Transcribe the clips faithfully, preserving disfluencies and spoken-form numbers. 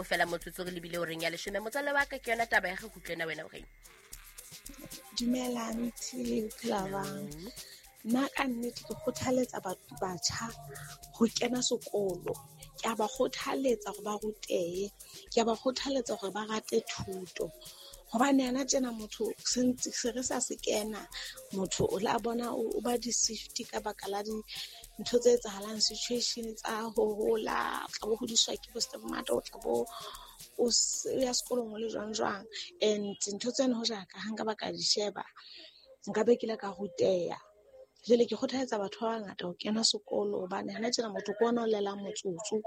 fela motsotso re lebile horeng ya leshome. Motswalle wa ka ke yona taba ya ge kutlwena wena o reng? Dumela aunty, phela bang. Nna ka nnete ke kgothaletsa batho batjha ho kena sekolo. Ke a ba kgothaletsa hore ba rutehe, ke a ba kgothaletsa hore ba rate thuto. Hobane hana tjena motho se se re sa se kena, motho o la bona o ba deceived ka baka la dintho tse etsahalang, situation tsa ho hola, o tla bo hodiswa ke bo stepmother, o tla bo o ya sekolong o le jwang jwang. And ntho tseno hoja ka ha nka ba ka di sheba, nka be ke ile ka ruteha. Jwale ke kgothaletsa batho ba bangata ho kena sekolo hobane hana tjena motho ke ona o llelang motsotso.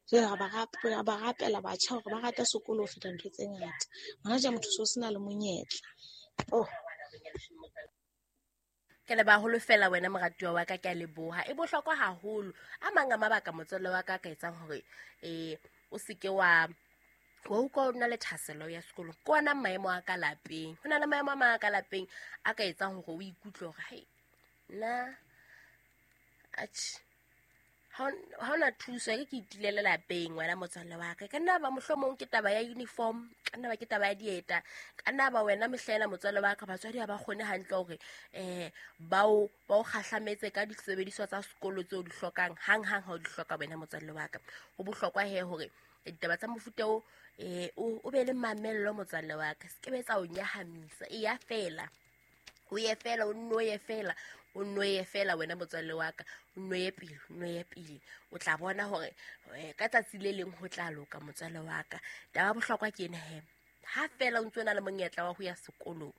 Jwale ra ba rapela batjha hore ba rate sekolo ho feta ntho tse ngata. Hona tje motho so sena le monyetla. Oh. Ke le baholo fela wena moratuwa wa ka, ke a leboha. E bohlokwa haholo. A mang a mabaka motswalle wa ka ka etsang hore eh o seke wa wa utlwa o na le thahasello ya sekolo. Ke ona maemo a ka lapeng. Ho na le maemo a mang a ka lapeng a ka etsang hore o ikutlwe hore hei nna atjhe ha hona thuso e ke itilele lapeng wena motswalle wa ka. Ka nna ba mohlomong ke taba ya uniform, ka nna ba ke taba ya dieta, ka nna ba wena mehlela motswalle wa ka batswadi ha ba kgone hantle hore eh ba o ba o kgahlametse ka disebediswa tsa sekolo tseo di hlokang hang hang ha o di hloka wena motswalle wa ka. Ho bohlokwa he hore ditaba tsa mofuta o eh o be le mamello motswalle wa ka, se ke be tsa o nyahamisa. E ya fela, o ye fela, o nno ye fela, o nno ye fela wena motswalle wa ka, o nno ye pele, o nno ye pele. O tla bona hore ka tsatsi le leng ho tla loka motswalle wa ka. Taba bohlokwa ke ena he, ha fela o ntse o na le monyetla wa ho ya sekolong,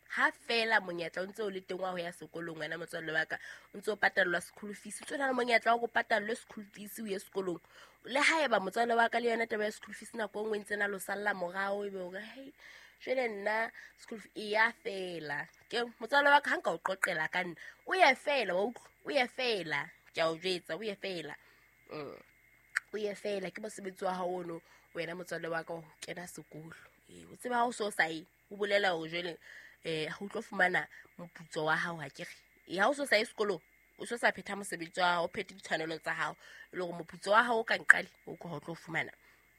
ha fela monyetla o ntse o le teng wa ho ya sekolong wena motswalle wa ka, o ntse o patallwa school fees, o ntse o na le monyetla wa go patallwe school fees o ye sekolong. Le haeba motswalle wa ka le yona taba ya school fees nako e nngwe ntse na lo salla morao, ebe o re hei jwale nna school e ya fela. Ke motswalle wa ka ha nka o qoqela ka nna, o ye fela wa utlwa, o ye fela, ke a o jwetsa, o ye fela. Mm. O ye fela ke mosebetsi wa hao ono wena motswalle wa ka ho kena sekolo. Eh o tseba ha o so sa ye, o bolela hore jwale eh ha o tlo fumana moputso wa hao ha ke re. Eh ha o so sa ye sekolong, o so sa phetha mosebetsi wa hao, o phethe ditshwanelo tsa hao, e le hore moputso wa hao o ka nqale o ko ho tlo fumana.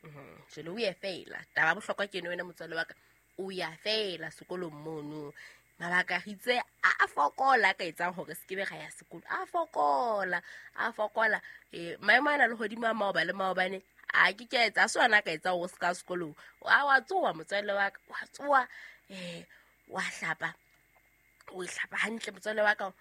Mhm. Jwale o ye fela. Taba bohlokwa ke eno wena motswalle wa ka, o ya fela sekolong mono. Mabaka re itse a fokola ka etsang hore se ke be ra ya sekolo, a fokola, a fokola. Eh maemo ana le hodimo a maoba le maobane a ke ke etsa so ana ka etsa o se ka sekolong. A wa tsoa motswalle wa ka, wa tsoa eh wa hlapa, o hlapa hantle motswalle wa ka,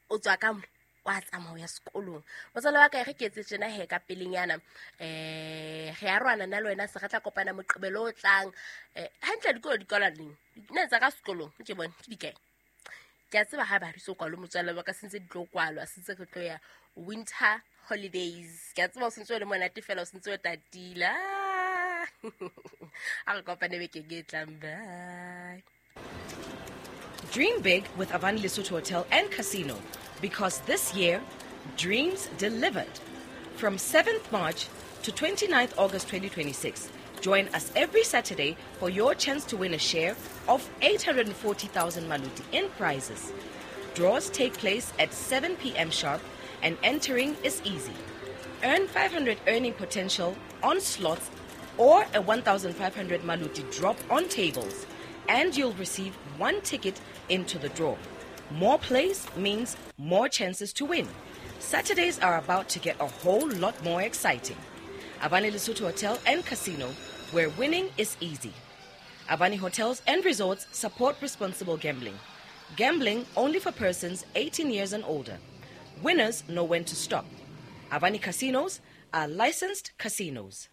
o tswa ka mo wa tsamaya ho ya sekolong. Motswalle wa ka re ke etse tjena he ka pelenyana, eh re a rwana nna le wena se re tla kopana moqebelo o tlang. Eh hantle dikolo di kwalwa neng? Nna tsa ka sekolong ke bone ke dikae? Ke a tseba ha ba re so kwalwe motswalle wa ka, sentse di tlo kwalwa, sentse re tlo ya winter holidays. Ke a tseba o sentse o le monate fela, o sentse o tatile. A re kopane bekeng e tlang. Bye. Dream big with Avani Lesotho Hotel and Casino, because this year, dreams delivered. From seventh March to twenty-ninth August twenty twenty-six, join us every Saturday for your chance to win a share of eight hundred forty thousand maluti in prizes. Draws take place at seven p.m. sharp and entering is easy. Earn five hundred earning potential on slots or a one thousand five hundred maluti drop on tables, and you'll receive one ticket into the draw. More plays means more chances to win. Saturdays are about to get a whole lot more exciting. Avani Lesotho Hotel and Casino, where winning is easy. Avani Hotels and Resorts support responsible gambling. Gambling only for persons eighteen years and older. Winners know when to stop. Avani Casinos are licensed casinos.